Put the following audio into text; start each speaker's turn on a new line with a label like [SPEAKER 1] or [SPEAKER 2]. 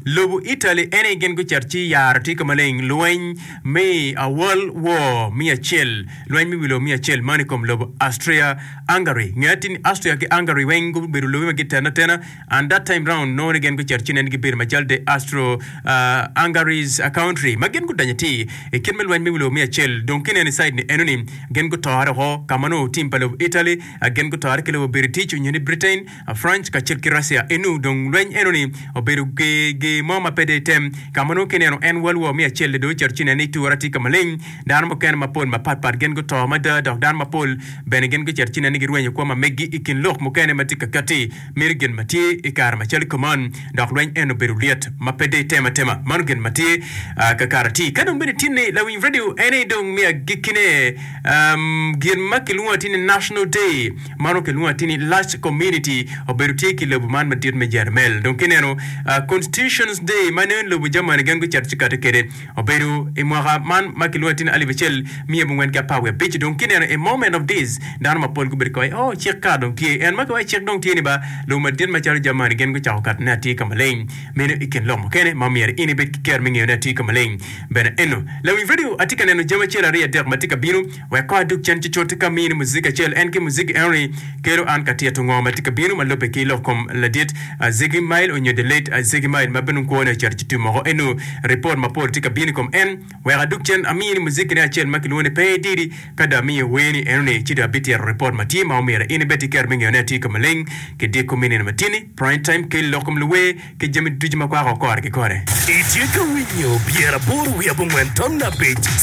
[SPEAKER 1] Lobo Italy en aye gin gucito ci yaro tye ka maleng lweny me World War me acel, lweny me wi lobo me acel man i kom lobo Austria-Hungary. Nge atir ni Austria ki Hungary weng gubedo lobe ma gitene atena and that time round nongo ni gin gucito ci nen gibedo macalo the Austro-Hungary's country ma gin gudonyo atir i kit me lweny me wi lobo me acel. Dong ki ineno i side ni enoni gin gutore woko ka ma nongo team pa lobo Italy gin gutore ki lobo Biritic onyo ni Britain. French kacel ki Russia enu dong lweny eno ni obedo ger ger mo ma pe de item ka ma nongo kineno en World War me acel-li dong ocito ci nen ni tura tye ka maleng dano mukene mapol mapat pat gin guto mada dok dano mapol bene gin gucito ci nen ni girwenyo kwo ma meggi i kin lok mukene ma tye ka kati meno gin ma tye i kare macalo kuman dok lweny eno obedo lyet ma pe de item atema mano gin ma tye kakare atir ka dong bene tinni lawiny radio en aye dong me agikkine gin ma kilwongo atir ni National Day. Mano kilwongo atir ni Large Community obedo tye ki lobo man madit me Jermel. Dong kineno Constitutions Day ma nongo lobo Germany gin gucito ci kati kede obedo i mwaka man ma kilwongo atir ni 1915. Dong kineno a moment of this dano mapol gubedo ka waco oh cik ka dong tye en ma kiwaco cik dong tye ni ba lobo madit macalo Germany gin gucako katone atir ka maleng. Meno i kin lok mukene ma myero in ibed ki ker me ngeyone atir ka maleng bene eno. Lawiny radio atye ka neno jami acel aryo adek ma tye ka bino. Wek kong adug cen cucut ka mini muziki acel. En ki muziki enoni kelo an ka tito ngo ma tye ka bino ma lubbe ki lok kom ladit Ziggy Mile onyo the late Ziggy Mile ma bene kwone ocito ci tum woko. Eno ripot mapol tye ka bino i kom en. Wek adug cen amini muziki ne acel ma kilwongo ni Pe Ididi. Ka dong amiyo werni enoni ci dong abitito ripot ma tye ma omyero in ibed ki kero me ngeyone atir ka maleng ki diko me nino matini, prime time, ki lok kom luwer ki jami ducu ma kwako kore ki kore.
[SPEAKER 2] Itye ka winyo 85.